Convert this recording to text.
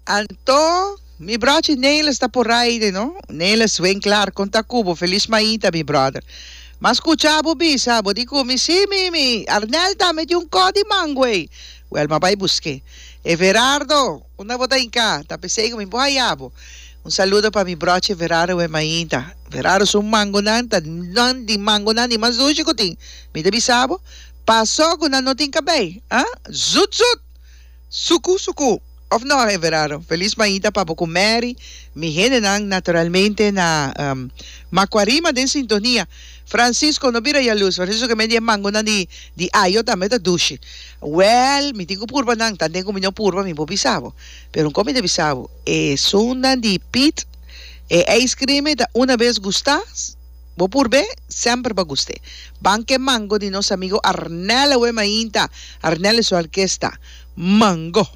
Anto mi brochi Nelis ta por aire no. Nelis Winklaar kon ta ku bo felis mainta mi brother. M'a skucha bo bisa bo di ku mi si mi mi Arnel tambe tin un kò di mango ei. Wèl m'a bai busk'é. Everardo unda bo ta hinká ta p'esei ku mi por haya bo. Un saludo pa mi brochi Everardo awe mainta. Everardo su mangonan ta nan di mangonan di mas dushi ku tin. Mi ta bisa bo paso ku nan no tin kabei ah zut zut. Suku suku of no Everardo? Feliz mainta pa bo ku Mary, mi hendenan naturalmente na Macuarima den sintonia. Francisco no bira yaluz, Francisco ke men di e mangonan di di ayo tambe ta dushi. Well, mi tin ku purba nan, tanten ku mi no purba mi por bisa bo. Pero un kos mi ta bisa bo, esunnan di Piet, e ice cream ta una bes gusta, Bo purb'é, semper bo a gust'é. Ban k'e mango di nos amigo Arnel awe mainta. Arnel y su orkesta. Mango!